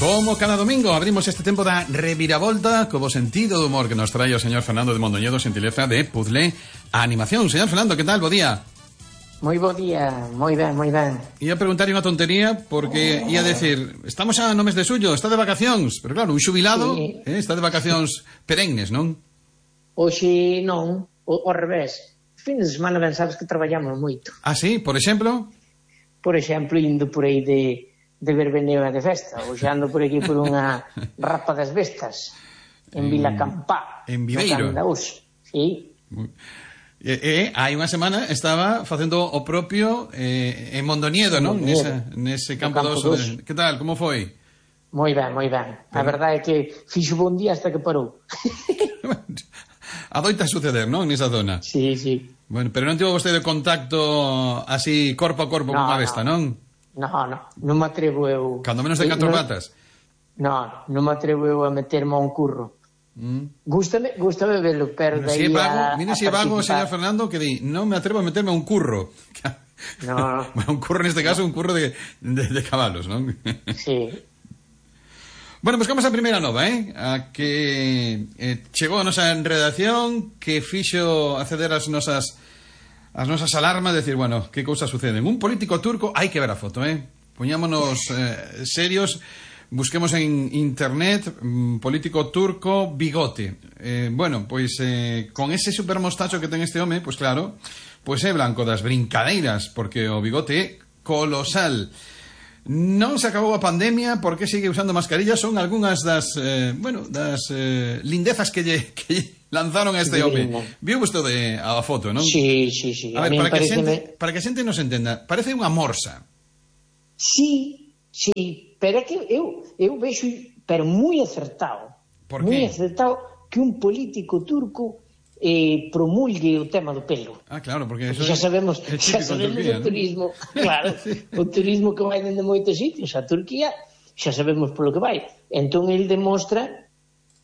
Como cada domingo abrimos este tempo da reviravolta co bo sentido do humor que nos trae o señor Fernando de Mondoñedo, xentileza de Puzzle Animación. Señor Fernando, que tal? Bo día. Moi bo día, moi ben, moi ben. Ia preguntar unha tontería porque ia decir, estamos xa no mes de xullo, está de vacacións, pero claro, un xubilado sí. Está de vacacións perennes, non? Hoxe non, ao revés. Fin de semana ben sabes que traballamos moito. Ah, sí? Por exemplo? Por exemplo, indo por aí de verbeneo e de festa. Hoxe ando por aquí por unha rapa das bestas en Vilacampá. En Viveiro. Sí. Hai unha semana estaba facendo o propio en Mondoñedo, non? Nese campo dos. Que tal? Como foi? Moi ben, moi ben. A verdade é que fixo bon día hasta que parou. Adoita suceder, non? Nesa zona. Sí, sí. Bueno, pero non tivo vostede contacto así corpo a corpo con a besta, non? Non me atrevo eu. Cando menos de 4 patas. Non me atrevo eu a meterme a un curro. Gústame velo, pero dai mira si é vago, señor Fernando, que di, non me atrevo a meterme a un curro. No. Bueno, un curro neste caso, un curro de cabalos, non? Sí. Bueno, pues vamos a primeira nova, a que chegou a nosa redacción, que fixo acceder as nosas alarmas, decir, bueno, que cousa suceden. Un político turco, hai que ver a foto, poñámonos serios, busquemos en internet, político turco, bigote. Bueno, pois con ese supermostacho que ten este home, pois claro, pois é blanco das brincadeiras, porque o bigote é colosal. Non se acabou a pandemia, porque sigue usando mascarillas, son algunhas das lindezas que lle lanzaron a este home. Viu vostede a foto, non? Sí. A ver, para que a xente nos entenda, parece unha morsa. Sí, pero é que eu vexo, pero moi acertado. Por qué? Moi acertado que un político turco promulgue o tema do pelo. Ah, claro, porque eso xa sabemos Turquía, o turismo, claro, sí. O turismo que vai dende moitos sitios a Turquía, xa sabemos polo que vai. Entón ele demostra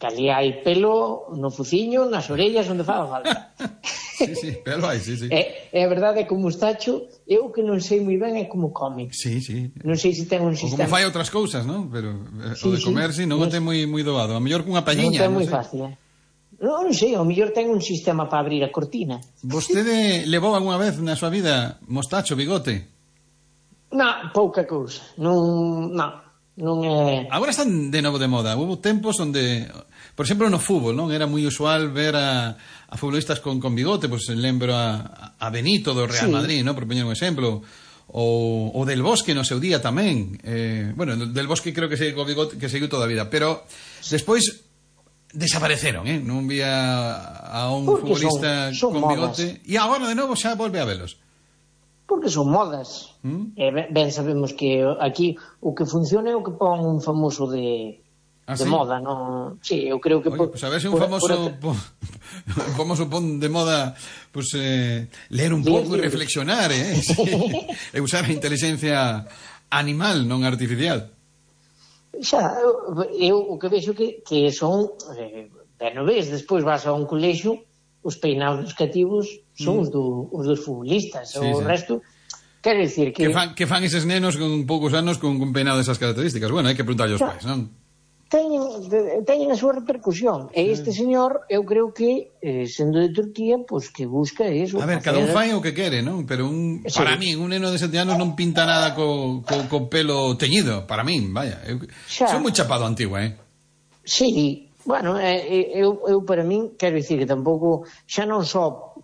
que ali hai pelo no fuciño, nas orellas, onde faga falta. Sí, pelo hai, sí. É verdade que o mustacho, eu que non sei moi ben é como come. Sí. Non sei se ten un sistema. O como fai outras cousas, non? Pero o de comer, sí, non o ten moi doado. A mellor cunha palliña, non ten moi fácil, Non sei, ao mellor ten un sistema para abrir a cortina. Vostede levou algunha vez na súa vida mostacho, bigote? Non, pouca cousa. Non é... Agora están de novo de moda. Hubo tempos onde, por exemplo, no fútbol, non? Era moi usual ver a futbolistas con bigote, pois lembro a Benito do Real Madrid, non? Por poñer un exemplo. O Del Bosque no seu día tamén. Bueno, Del Bosque creo que seguiu co bigote, que seguiu toda a vida, pero despois desapareceron, non vía a un futbolista son con bigote e agora de novo xa volve a velos. Porque son modas. Ben sabemos que aquí o que funciona é o que pon un famoso de moda, non? Sí, eu creo que pues a ver se un famoso pon de moda, pues leer un pouco e reflexionar, e usar a inteligencia animal, non artificial. Xa, eu o que vexo que son ben o ves, despois vas a un colexio, os peinados dos cativos son os dos futbolistas, o resto quero dicir que fan eses nenos con poucos anos con peinado desas características. Bueno, hai que preguntarlle aos pais, non? Teñen a súa repercusión, e este señor eu creo que sendo de Turquía, pois que busca eso. A ver, cada un fai o que quere, non? Pero para mí, un neno de 7 anos non pinta nada co pelo teñido, para min, vaya. Son moi chapado antigo, Sí, bueno, eu para min, quero dicir que tampouco, xa non só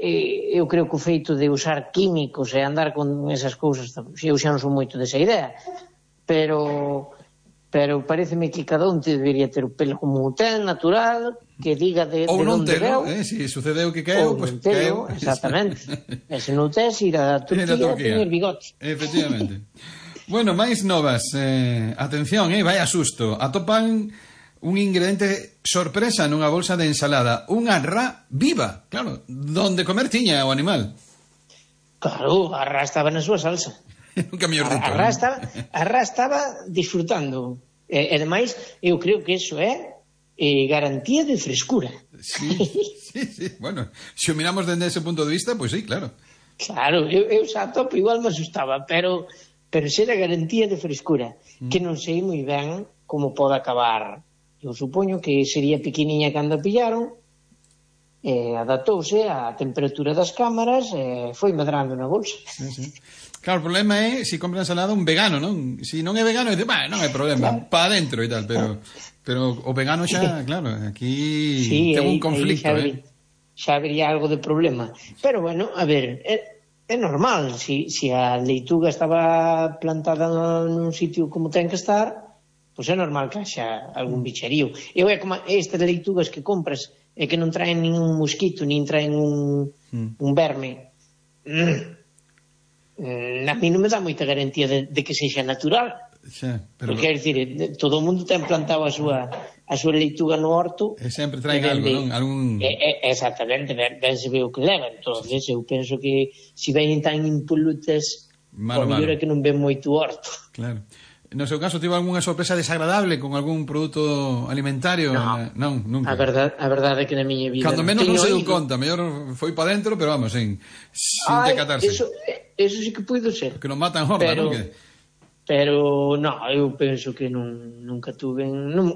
eu creo que o feito de usar químicos e andar con esas cousas, eu xa non son moito desa idea, pero pareceme que cada un debería ter o pelo como ten, natural, que diga de onde veu. Si sucedeu que caeu, pois caeu. Exactamente. E se non tes, ir a Turquía a tener bigote. Efectivamente. Bueno, máis novas. Atención, vai a susto. Atopan un ingrediente sorpresa nunha bolsa de ensalada. Unha rá viva, claro. Donde comer tiña o animal. Claro, a rá estaba na súa salsa. Nunca mellor dito. A rá estaba disfrutando. E ademais, eu creo que iso é garantía de frescura. Sí. Bueno, se o miramos dende ese punto de vista, pois sí, claro. Claro, eu xa topo igual me asustaba, pero ser a garantía de frescura, que non sei moi ben como pode acabar. Eu supoño que sería pequeniña cando a pillaron, adaptouse á temperatura das cámaras e foi medrando na bolsa. Sí. Claro, o problema é se compra ensalada un vegano, non? Se non é vegano, dice, non hai problema, claro, para adentro e tal, pero o vegano xa, claro, aquí sí, ten un conflicto, xa habría algo de problema. Pero bueno, a ver, é normal, se a leituga estaba plantada nun sitio como ten que estar, pois é normal que haxa algún bicherío. E é como estas leitugas que compras e que non traen ningún mosquito, nin traen un verme. A mí non me dá moita garantía de que sexa natural. Xa, pero... Porque, quer dicir, todo o mundo ten plantado a súa leituga no horto e sempre traen algo, non? Exactamente, ben se ve o que leva. Entonces eu penso que se veñen tan impolutas, o mellor é que non ven moito horto. Claro. No seu caso, tivo algunha sorpresa desagradable con algún produto alimentario? Non, nunca. A verdade é que na miña vida... Cando menos non se deu conta, mellor foi para dentro, pero vamos, sin decatarse. Eso sí que puido ser. Que non matan horda, non? Pero, non, eu penso que nunca tuve...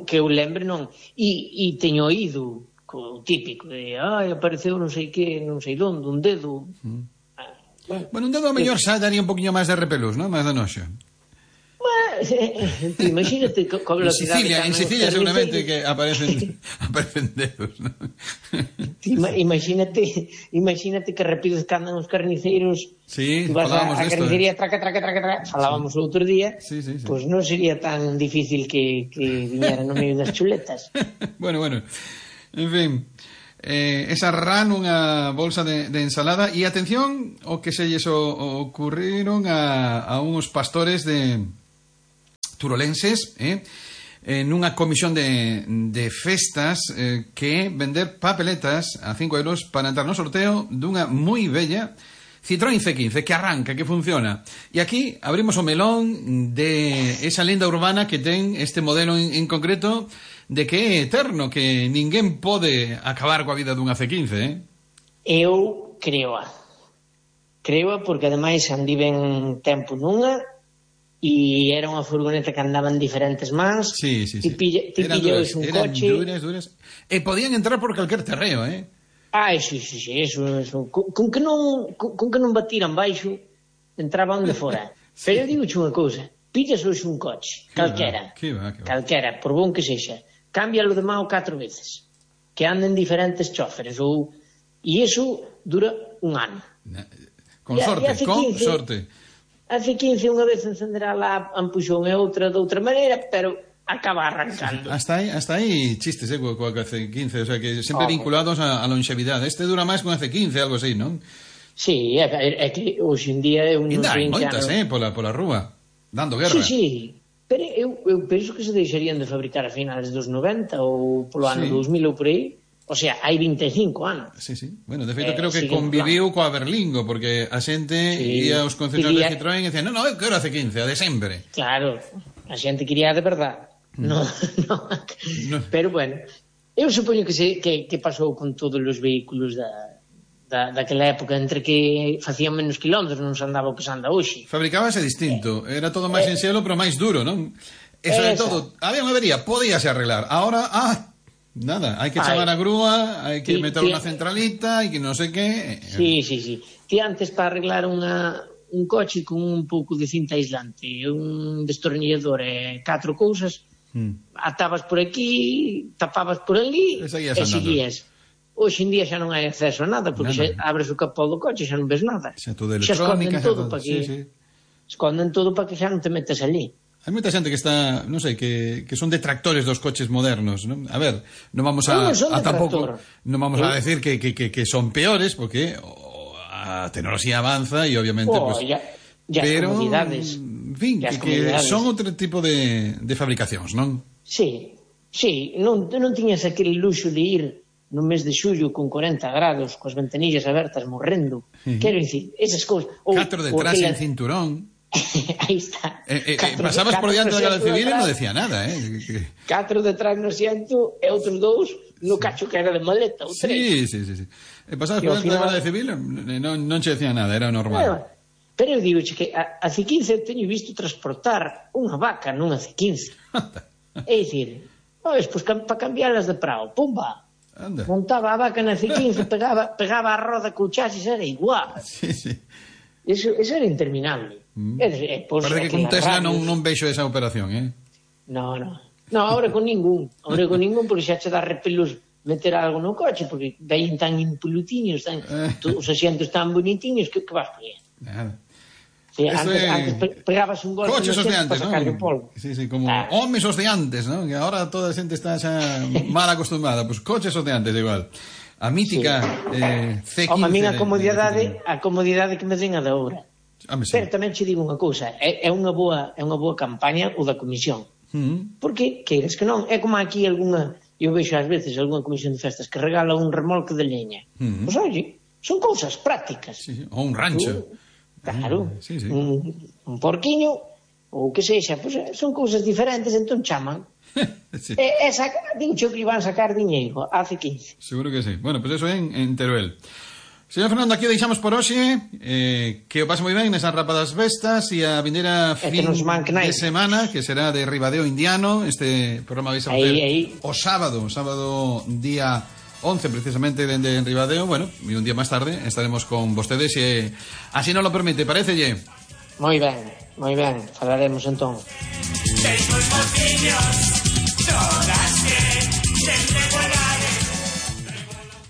Que eu lembre, non. E teño oído o típico de, apareceu non sei que, non sei donde, un dedo. Bueno, un dedo a mellor xa daría un poquinho máis de repelús, non? Máis de noxo. Imagínate en Sicilia seguramente que aparecen dedos, ¿no? Imagínate que rápido que andan os carniceiros. Sí, vas falábamos a carnicería, traca, falábamos o outro día. Sí. Pois non sería tan difícil que viñera no medio das chuletas. Bueno, en fin, esa ran unha bolsa de ensalada. E atención o que se lles ocurriron a unos pastores de turolenses, nunha comisión de festas, que vender papeletas a 5 euros para entrar no sorteo dunha moi bella Citroën C15, que arranca, que funciona. E aquí abrimos o melón de esa lenda urbana que ten este modelo en concreto, de que é eterno, que ninguén pode acabar coa vida dunha C15, Eu creo porque ademais andiven tempo nunha e era unha furgoneta que andaba en diferentes mans. Sí. Ti pillas un coche. Eran duras. E podían entrar por calquer terreo, Sí, eso. Con que non batiran baixo, entraban de fora. Pero eu digo unha cousa, pillas hoxe un coche, calquera, por bon que sexa, cámbialo de mão 4 veces, que anden diferentes choferes, e iso dura un ano. Con sorte. A C15 unha vez encenderá lá a ampuxón e outra de outra maneira, pero acaba arrancando. Hasta aí chistes, coa C15, o sea, que sempre vinculados a longevidade. Este dura máis con a C15, algo así, non? Sí, é que hoxe en día eu non sei... moitas, pola rúa, dando guerra. Sí, pero eu penso que se deixarían de fabricar a finales dos 90 ou polo ano 2000 ou por aí. O sea, hai 25 anos. Sí. Bueno, de feito, creo que conviviu coa Berlingo, porque a xente ia aos concesionarios de Citroën e decían, non, eu quero a C15, a de sempre. Claro, a xente quería de verdade. No. Pero bueno, eu supoño que pasou con todos os vehículos daquela época, entre que facían menos kilómetros, non se andaba o que se anda hoxe. Fabricábase distinto, era todo máis en xelo, pero máis duro, non? E sobre todo, había unha avería, podíase arreglar. Ahora, nada, hai que chamar a grúa, hai que meter unha centralita, hai que non sei que... Sí. Ti antes para arreglar un coche con un pouco de cinta aislante, un destornillador e 4 cousas, atabas por aquí, tapabas por ali e seguías. Hoxe en día xa non hai acceso a nada, porque xa abres o capó do coche e xa non ves nada. Xa todo electrónica, esconden todo para que xa non te metes ali. Hai moita xente que está, non sei, que son detractores dos coches modernos, non? A ver, non vamos a tampouco, non vamos a decir que son peores, porque a tecnoloxía avanza e obviamente pero comunidades, en fin, que son outro tipo de fabricacións, non? Sí, non tiñas aquele luxo de ir no mes de xullo con 40 grados, coas ventanillas abertas morrendo. Quero dicir, esas cousas. 4 detrás en cinturón. Aí está. Pasabas por diante da Garda Civil e non decía nada, 4 detrás no asiento e outros 2 no cacho que era de maleta ou 3. Sí. Pasabas por diante da Garda Civil e non che decía nada, era normal. Pero eu digo que a C15 teño visto transportar unha vaca nunha C15. É dicir, pois para cambiarlas de prao, pumba. Anda. Montaba a vaca na C15, pegaba a roda co chasis, era igual. Sí, sí. Eso era interminable. Parece que con Tesla non vexo esa operación, No, ahora con ningún, porque xa che dá repelús meter algo no coche, porque vein tan impolutiños, os asientos tan bonitiños, que vas poñer? Nada. Sí, antes pegabas un golpe coches os de antes, para sacarle o polvo. Sí, como homes os de antes, ¿no? Que ahora toda a xente está xa mal acostumada. Pues coches os de antes, igual. A mítica C15. A min a comodidade que me den a da obra. Sí. Pero tamén che digo unha cousa, é unha boa campaña o da comisión. Porque, queiras que non, é como aquí eu vexo ás veces algunha comisión de festas que regala un remolque de leña. Pois oye, son cousas prácticas. Sí, o un rancho. Claro, sí. un porquiño, ou que sexa, pois son cousas diferentes, entón chaman. Sí. Dicho que iban a sacar diñeiro hace 15. Seguro que sí. Bueno, pues eso en Teruel. Señor Fernando, aquí o deixamos por hoxe, que o pase moi ben nesas rapadas vestas e a vindeira fin de semana, que será de Ribadeo Indiano. Este programa vais a facer o sábado día 11 precisamente dende Ribadeo. Bueno, e un día máis tarde estaremos con vostedes e así nos lo permite, parecelle? Moi ben, falaremos entón.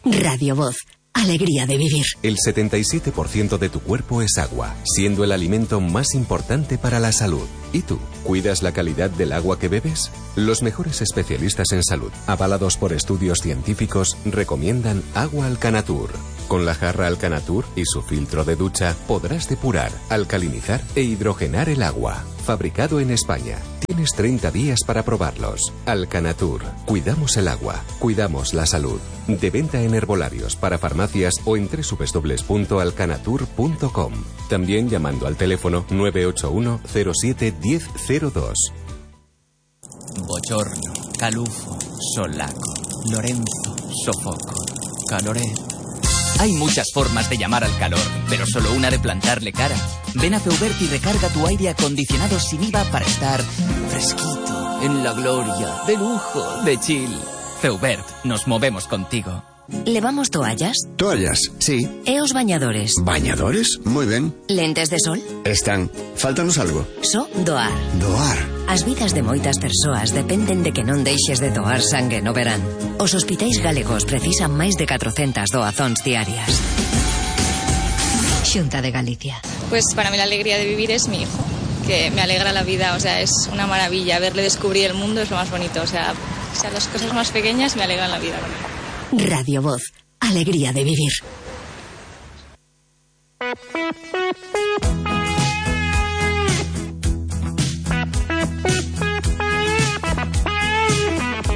Radio Voz. Alegría de vivir. El 77% de tu cuerpo es agua, siendo el alimento más importante para la salud. ¿Y tú? ¿Cuidas la calidad del agua que bebes? Los mejores especialistas en salud, avalados por estudios científicos, recomiendan agua Alcanatur. Con la jarra Alcanatur y su filtro de ducha podrás depurar, alcalinizar e hidrogenar el agua. Fabricado en España. Tienes 30 días para probarlos. Alcanatur. Cuidamos el agua. Cuidamos la salud. De venta en herbolarios, para farmacias o en www.alcanatur.com. También llamando al teléfono 981 07 1002. Bochorno, calufo, solaco, Lorenzo, sofoco, caloré. Hay muchas formas de llamar al calor, pero solo una de plantarle cara. Ven a Feubert y recarga tu aire acondicionado sin IVA para estar fresquito, en la gloria, de lujo, de chill. Feubert, nos movemos contigo. ¿Levamos toallas? Toallas, sí. E os bañadores? ¿Bañadores? Moi ben. Lentes de sol? Están. Fáltanos algo. Só doar. Doar. As vidas de moitas persoas dependen de que non deixes de doar sangue no verán. Os hospitais galegos precisan máis de 400 doazóns diarias. Xunta de Galicia. Pues para mí la alegría de vivir es mi hijo, que me alegra la vida, o sea, es una maravilla. Verle descubrir el mundo es lo más bonito, o sea, las cosas más pequeñas me alegran la vida. Radio Voz. Alegría de vivir.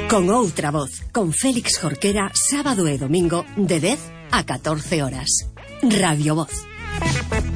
Con outra voz, con Félix Jorquera, sábado e domingo de 10 a 14 horas. Radio Voz.